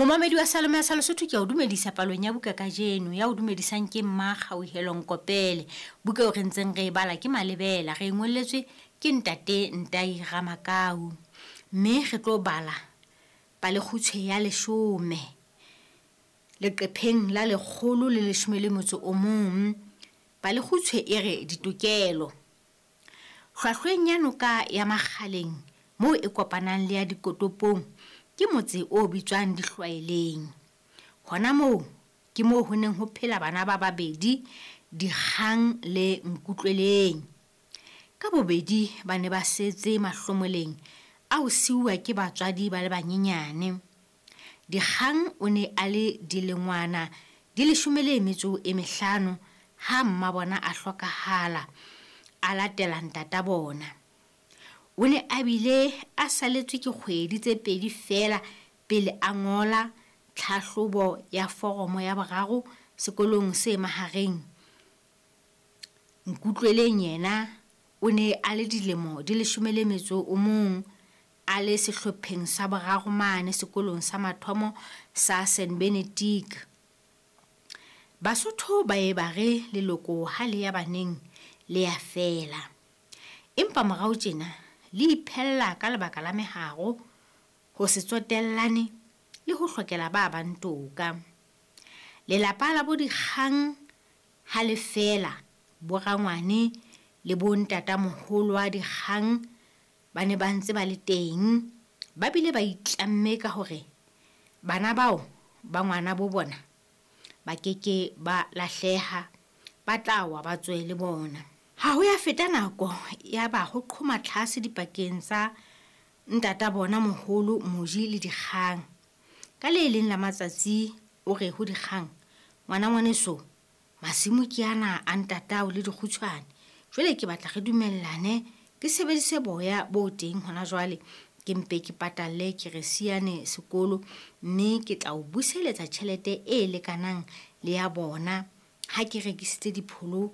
Momamedi wa Salome ya sa Lesotho, ke a o dumedisa palong ya buka kajeno. Ya o dumedisang ke Mma Kgauhelo Nkopele. Buka eo re ntseng re e bala ke Malebela, re e ngolletswe ke Ntate Ntai Ramakau. Mme re tlo bala palekgutshwe ya leshome leqepheng la 111. Palekgutshwe e re ditokelo. Hlwahlweng ya noka ya Makgaleng moo e kopanang le ya Dikotopong ke motse o bitswang Dihlwaeleng. Hona moo ke moo ho neng ho phela bana ba babedi, Dikgang le Nkutlweleng. Ka bobedi ba ne ba setse mahlomoleng a ho siuwa ke batswadi ba le banyenyane. Dikgang o ne a le dilengwana di 15 ha mmabona a hlokahala, a latela ntata bona. O ne a bile a saletswe ke kgwedi tse pedi feela pele a ngola tlhahlobo ya foromo ya boraro sekolong se mahareng. Nkutlweleng yena o ne a le dilemo di 11, a le sehlopheng sa boraro mane sekolong sa mathomo sa Saint Benedict. Basotho ba ye ba re leloko ha le ya baneng le ya fela. Empa morao tjena le iphella ka lebaka la meharo, ho se tsotellane le ho hlokela ba bang toka. Lelapa la bo Dikgang ha le fela, bo rangwane le bo ntatamoholo wa Dikgang ba ne ba ntse ba le teng, ba bile ba itlamme ka hore bana bao ba ngwana bo bona ba keke ba lahleha, ba tla wa ba tswe le bona. Ha ho ya feta nako ya ba ho qhoma tlhase dipakeng tsa ntata bona moholo Moji le Dikgang. Ka le leng la matsatsi o re ho Dikgang, ngwana ngwaneso, masimo ke ana a ntatao le dikgutshwane. Jwale ke batla re dumellane, ke sebedise boya bo teng hona jwale, ke mpe ke patalle keresiane sekolo, mme ke tla o buseletsa tjhelete e lekanang le ya bona ha ke rekisitse dipholo